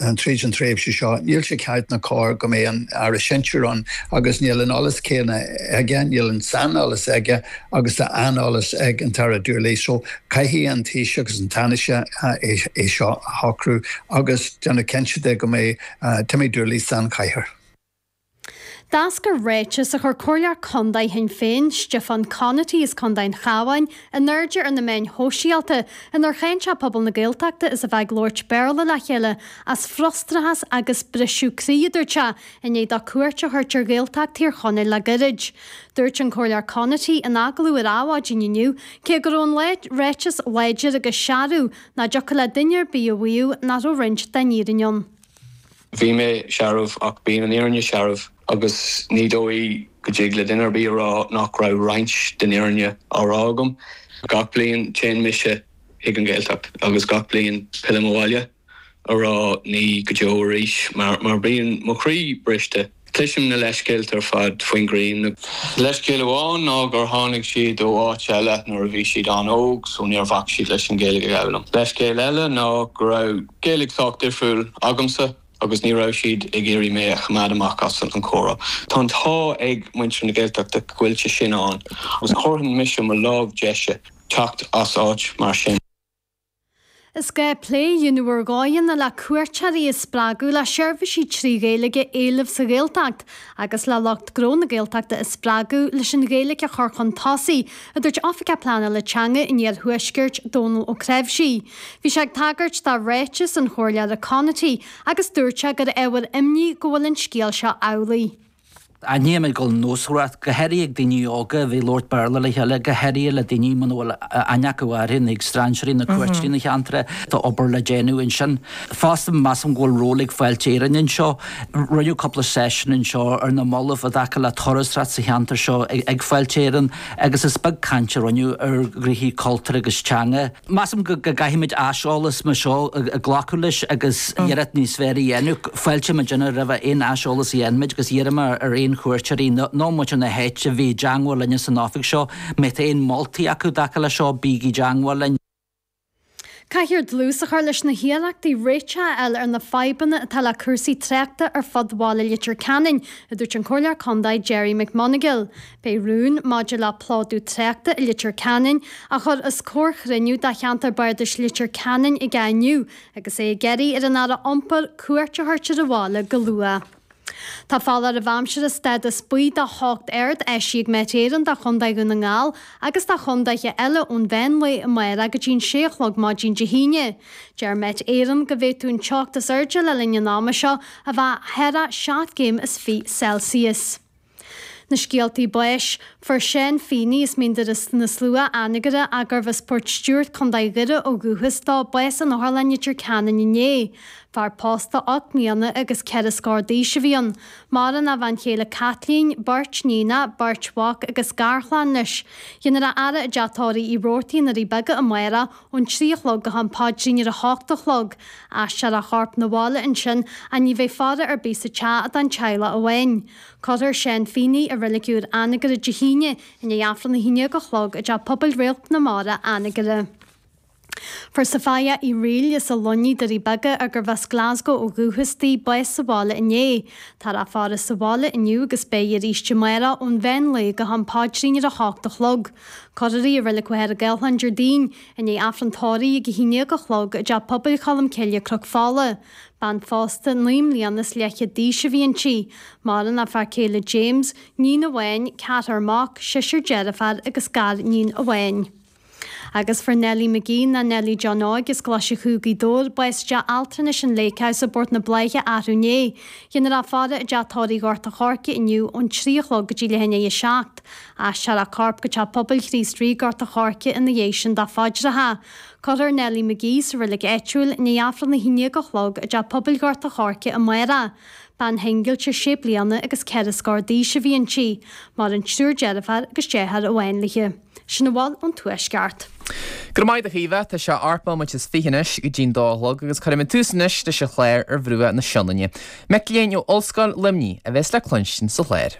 Tríd an tréimhse seo, níl sé ceart ná cóir go mbeidh an Aire Sinsir ann agus níl an eolas céanna aige, níl an saineolas aige agus tá an-eolas ag an tAire Dooley. So caithfidh an Taoiseach agus an Tánaiste é seo a shocrú agus déanamh cinnte de go mbeidh Timmy Dooley san chathaoir. D'eascair ráiteas a chuir Comhairleoir Contae Shinn Féin, Stiofán Conaty as Contae an Chabháin, in airde ar na meáin shóisialta inar cháin sé pobal na Gaeltachta as a bheith ag labhairt Béarla le chéile as frustrachas agus briseadh croí, a dúirt sé, i ndiaidh dó cuairt a thabhairt ar Ghaeltacht Thír Chonaill le gairid. Dúirt an Comhairleoir Conaty in agallamh ar Adhmhaidin inniu cé go raibh an ráiteas láidir agus searbh, nach dtiocfadh le duine ar bith a mhaíomh nach raibh roinnt den fhírinne ann. Bhí mé searbh ach bíonn an fhírinne searbh agus ní dóigh go dtig le duine ar bith a rá nach raibh roinnt den fhírinne á rá agam. Gach bliain téann mise chuig an Ghaeltacht agus gach bliain pillim abhaile a rá ní go deo arís mar bíonn mo chroí briste. Cloisim na leithscéalta ar fad faoin ghrian. Leithscéal amháin ná gur tháinig siad ó áit eile nuair a bhí siad an-óg so níor bhac siad leis an Ghaeilge a fhoghlaim. Leithscéal eile ná go raibh Gaeilge sách difriúil agamsa agus ní raibh siad ag iarraidh mé a choimeád amach as an chomhrá. Tá an t-ádh ag muintir na Gaeltachta go bhfuil sé sin ann agus thabharfainn mise mo lámh deise teacht as áit mar sin. Is gá plé a dhéanamh ar dhóigheanna le cuairteoirí a spreagadh le seirbhísí 3 Ghaeilge a éileamh sa Ghaeltacht agus le lucht gnó na Gaeltachta a spreagadh leis an Ghaeilge a chur chun tosaigh, a dúirt Oifigeach Pleanála Teanga an Iarthuaiscirt, Dónal Ó Creabhsí. Bhí sé ag tagairt do ráiteas an Chomhairleora Conaty agus dúirt sé gur ábhar imní go bhfuil an scéal seo amhlaidh. Aithním go bhfuil nósmhaireacht, go háirithe ag daoine óga a bheith ag labhairt Béarla le chéile, go háirithe le daoine muna bhfuil aithne acu orthu, nó ag strainséirí nó cuairteoirí na cheantair, tá obair le déanamh ansin. Fosta, measaim go bhfuil ról ag Fáilte Éireann anseo. Rinneadh cúpla seisiún anseo ar na mallaibh i dtaca le turasóireacht sa cheantar seo ag Fáilte Éireann agus is beag caint a rinneadh ar ghnoithí cultúir agus teanga. Measaim go gcaithfimid aiseolas mar seo a ghlacadh leis agus iarracht níos fearr a dhéanamh. Fáiltíonn muidinne roimh aon aiseolas a dhéanfaimid agus iarraim ar aon chuairteoirí nó muintir na háite a bheith i dteangmháil linne san oifig seo. Má tá aon moltaí acu i dtaca leis seo, bígí i dteangmháil linn. Caithfear dlús a chur leis na hiarrachtaí réiteach a fháil ar na fadhbanna atá le cúrsaí tráchta ar fud bhaile Leitir Ceanainn, a dúirt an Comhairleoir Contae Gerry McMonagail. Beidh rún maidir le plódú tráchta i Leitir Ceanainn á chur os comhair chruinniú de cheantar bardais Leitir Ceanainn aige inniu agus é ag iarraidh ar an Aire Iompair cuairt a thabhairt ar an bhaile go luath. Tá foláireamh aimsire stádas buí de theocht ard eisithe ag Met Éireann do Chontae Dhún na nGall agus do chontaetha eile ón mheán lae amárach go dtí an sé a chlog maidin Dé hAoine. Deir Met Éireann go bhféadfadh an teocht is airde le linn an ama seo a bheith thar 7 gcéim is 20 Celsius. Na scéaltaí báis. Fuair Seán Feeney as Mín Doire na Slua, Anagaire, ach gurbh as Port Stewart, Co. Dhoire ó dhúchas dó, bás in Otharlann Leitir Ceanainn inné. Fear pósta 8 mbliana agus 4 scór d'aois a bhí ann. Maireann a bhean chéile Caitlín, beirt níonacha, beirt mhac agus garchlann leis. Déanfar a fhaire i dteach tórraimh Uí Robhartaigh i nDoirí Beaga amárach ón 3 a chlog go ham paidrín ar a hocht a chlog. Aistreofar a chorp 'na bhaile ansin ach ní bheidh faire ar bith sa teach ach don teaghlach amháin. Cuirfear Seán Feeney i Reilig Úr Anagaire Dé hAoine i ndiaidh Aifreann 11 a chlog i dTeach Pobail Réalt na Mara, Anagaire. Fuair Sophia Uí Fhrighil as an Luinnigh, Doirí Beaga, ar gurbh as Glasgow ó dhúchas di, bás sa bhaile inné. Táthar á faire sa bhaile inniu agus beidh arís amárach ón mheán lae go ham paidrín ar a hocht a chlog. Cuirfear í i Reilig Mhachaire Gathlán Déardaoin, i ndiaidh Aifreann tórraimh ag 11 a chlog i dTeach Pobail Cholm Cille, Cnoc Fola. Bean phósta 9 mbliana is leathchéad d'aois a bhí inti. Maireann a fear céile James, níon amháin, ceathrar mac, seisear deirféar agus gar-níon amháin. Agus fuair Nellie McGee ná Nellie John Óig as Glaise Chú, Gaoth Dobhair, bás i dteach altranais an Lake House i bPort na Bláiche arú inné. Déanfar a faire i dteach tórraimh Ghort a' Choirce inniu ón 3 a chlog go dtí leath i ndiaidh a 7. Aistreofar a corp go Teach Pobail Chríost Rí, Gort a' Choirce ina dhiaidh sin do phaidreacha. Cuirfear Nellie McGee sa reilig áitiúil i ndiaidh Aifreann 11 a chlog i dTeach Pobail Ghort a' Choirce amárach. Bean shingilte sé bliana agus 4 scór d'aois a bhí inti. Maireann triúr deirféar agus deartháir amháin léi. Sin a bhfuil ón Tuaisceart. Go raibh maith agat a Chaoimhe, tá sé 18 nóiméad is 20 anois go dtí'n dó a chlog agus cuirfidh muid tús anois leis an chlár Ar Bhruach na Sionainne. Mic léinn ó Ollscoil Luimnigh a bheas le cluinstin sa chlár.